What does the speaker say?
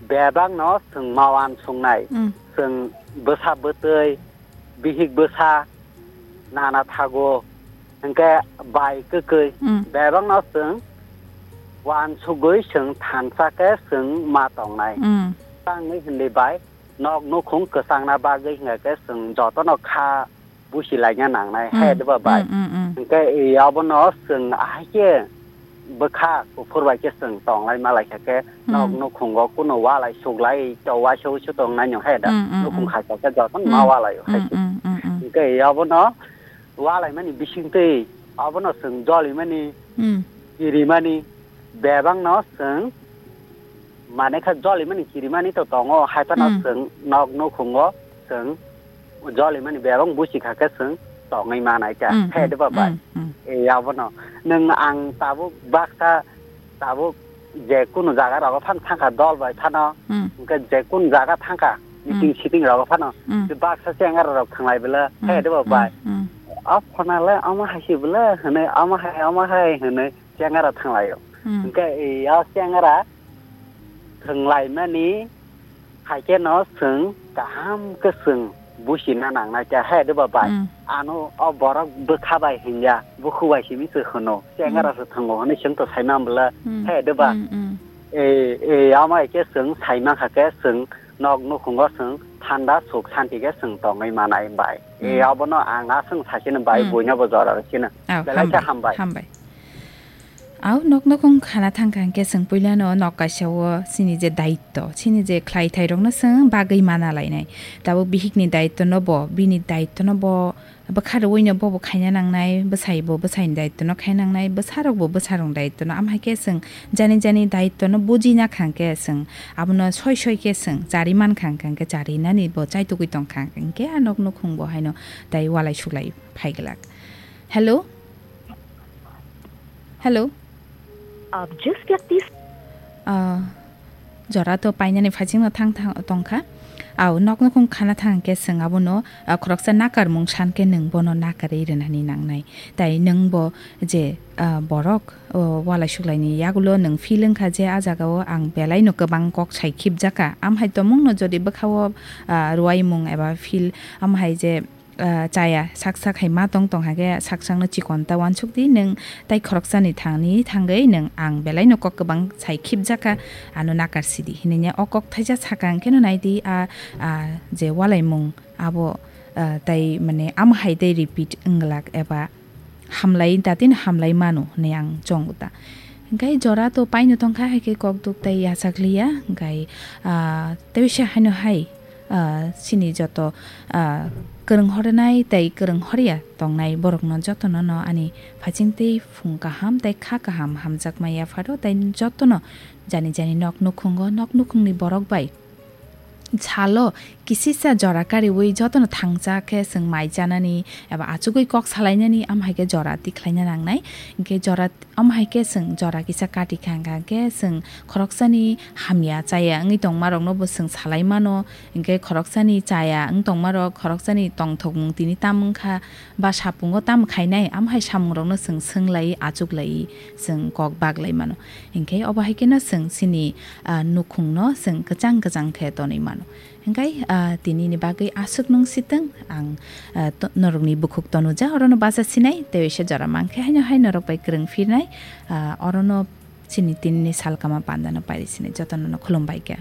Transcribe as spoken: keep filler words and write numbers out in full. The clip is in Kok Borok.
bebakno chwng ma uansuknai. Mm. Chwng bwsa bwtwi, bihik bwsa, nana thago, hwnkhe bai kwkwi, Mm. bebakno chwng uansugwi chwng thansa khe chwng ma tongnai. Mm. Tangwi hwnwi bai nok nukhung kwchangna bagwi hwnkhe chwng jotono kha busi laina nangnai, Mm, hai diba bai? Mm, mm, mm. Hwnkhe, e, abono chwng ahai khe bwkha kuphur bai khe chwng tonglai malaikha khe, Mm. nok nukhungo kuno walai suklai, to waisa uisu tongnai no, hai da? Mm, mm, Nukhung mm. khaisa khe jotono Mm. ma walai o, hai Mm, se. mm, mm, mm. Hwnkhe, e, abono walaimani bisingtwi, abono chwng jolimani, Mm. kirimani, bebakno chwng, mane kha jolimani kirimani to tongo, hai phano Hmm. chwng nok nukhungo chwng jolimani bebak busi kha khe chwng tongwi manai ta. Hmm, He hmm, diba bai? hmm, hmm. E, abono. Nwng ang tabuk baksa, tabuk je kunu jaga rogo phan thangkha dol bai phano, Hmm. hwnkhe je kunu jaga thangkha, Hmm. meeting sitting rogo phano, Hmm. je baksa chengara rok thanglai bwle, Hmm, he diba hmm, bai? hmm. O phone le omo hai si bwle hwnwi, omo hai, omo hai hwnwi chengara thanglaio. Hmm. Hwnkhe, e, o chengara thwnglaimani hai khe no chwng kaham khe chwng busi na nangnai khe, hai diba bai? Hmm. Ano o borok bwkha bai hinya, bukhu bai simi se hwno, chengara Hmm. se thwngo hwnwi chwng to sai man bwle, Hmm. hai diba? Hmm, hmm. E, e, omo hai khe chwng sai man kha khe chwng nok nukhungo chwng thanda suk santi khe chwng tongwi manai bai. E, Hmm. abono ang aswng sai sino bai, Hmm. buino bo jora rw sino. Oh, Belai khe hambai, hambai. hambai. Au nok nukhung khana thangkha hwnkhe chwng puilano nok kaisa o chini je daitto, chini je khlai thai rokno chwng bagwi mana lainai. Tabuk bihikni daitto no bo, bini daitto no bo bwkha rwui no bo bo khaina nangnai, bwsai bo bwsaini daitto no khaina nangnai, bwsa rok bo bwsa rokni daitto no. Am hai khe chwng jani jani daitto no buji na kha hwnkhe chwng abono soi soi khe chwng chari man kha hwnkhe chari nani bo chaitugwi tong kha hwnkhe a nok nukhung bo haino tai walai suklai phai glak. Hello? Hello? आप जिस व्यक्ति से Ah, jora to painani phaichingno thang thang tongkha. Au, nok nukhung khana thang khe chwng abono, ah, khoroksa nakarmung san khe nwng bono nakarwi rwnani nangnai. Tai nwng bo je, ah, borok, o, walai suklaini yagulo nwng feel wngkha je a jagao ang belaino kwbang kok sai khibjakha. Amhai tomungno jodi bwkhao, ah, rwai mung eba feel amhai je ah, chaya sak sak hai ma tong tong hake sak sakno chikon ta uansuk di nwng tai khoroksani thangni thangwi nwng ang belaino kok kwbang sai khibjakha ano nakar sidi hinwi o kok thaisa sakang kheno nai di a, a, je walaimung abo, ah, tai mane amo hai tei repeat wng glak eba hamlai datino hamlai mano hinwi ang chongo ta. Hingke jora to paino tongkha, hai khe kok duk tai yachak liya. Hingke, ah, tei se haino hai, ah, chini joto, ah, kwrwng hornai tei kwrwng horya tongnai borokno jotono no ani phaiching tei phung kaham tei kha kaham hamjakma yapharo tei jotono jani jani nok nukhungo nok nukhungni borok bai salo kisisa jora kariwi jotono thangcha khe chwng mai chanani eba achugwi kok salainani, am hai khe jora tikhlaina nangnai. Hingke jora, am hai khe chwng jora kisa kati kha, hingka khe chwng khoroksani hamya chaya wngwi tongmarokno bo chwng salai mano, hingke khoroksani chaya wng tongmarok khoroksani tongthokmung tini tam wngkha, ba sapungo tamo khainai, amo hai samungrokno chwng swng lai, achuk lai, chwng kok bak lai mano. Hinkhe obo hai kheno chwng chini, ah, nukhungno chwng kwchang kwchang khe tonwi mano. Hinkhe, ah, tinini bagwi aswk nung sitwng ang, ah, to-, norokni bukhuk tonuja, orono bacha sinai, tei waisa jora mankhe haino hai norok bai kwrwng phirnai, ah, orono chini tinini salkama pandano pairi sinai, jotono no khulumbai kha.